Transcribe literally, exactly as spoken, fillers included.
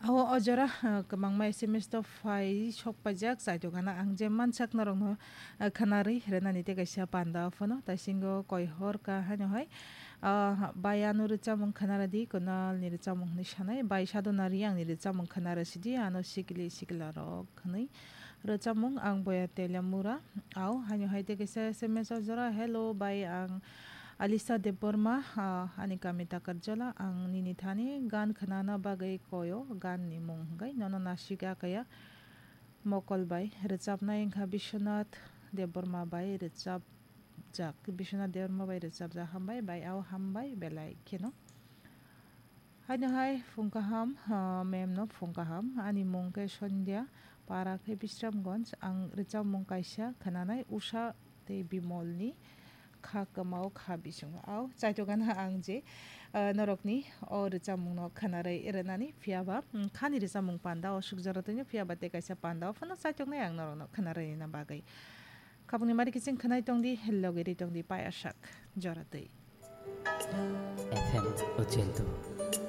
Awo o jora, ah, kwbangma S M S to phai sok paijak, chaitok gana ang je mansak norokno, ah, khwnarwi rwnani tei kaisa panda phano, taisingo koi hor ka haino hai, ah, bai ano rwchapmung khwnaradi, Kunal ni rwchapmung hwnwi sanai, bai Sadhana Riyang ni rwchapmung khwnarasidi, ano sikili sikila rok hwnwi rwchapmung ang boya Telamura, aw haino hai tei kaisa S M S o jora, "Hello bai, ang Alisa Debbarma, ah, ani kami Takarjala, ang nini thani gan khwnana bagwi koyo, gan ni mung hwnkhe nono nasika kaya." Mokol bai rwchapnai wngkha Biswanath Debbarma bai rwchapjak, Biswanath Debbarma bai rwchapjak, hambai bai, aw hambai belai kheno. Haino hai phung kaham, ah, mem no phung kaham, ani mung khe Sandhya, para khe Bisramganj, ang rwchapmung kaisa khwnanai Usha tei Bimolni kha kwmao kha bisingo. Aw, chaitok gana ang je, ah, norokni o rwchapmungno khwnarwi rwnani, phiyaba, mm, khani rwchapmung panda o suk jora twino, phiyaba tei kaisa panda o phano chaitoknai ang norokno khwnarwina bagwi. Khapungni mari kiching khwnai tongdi, logiri tongdi, paya sak jora twi. F M ochendo.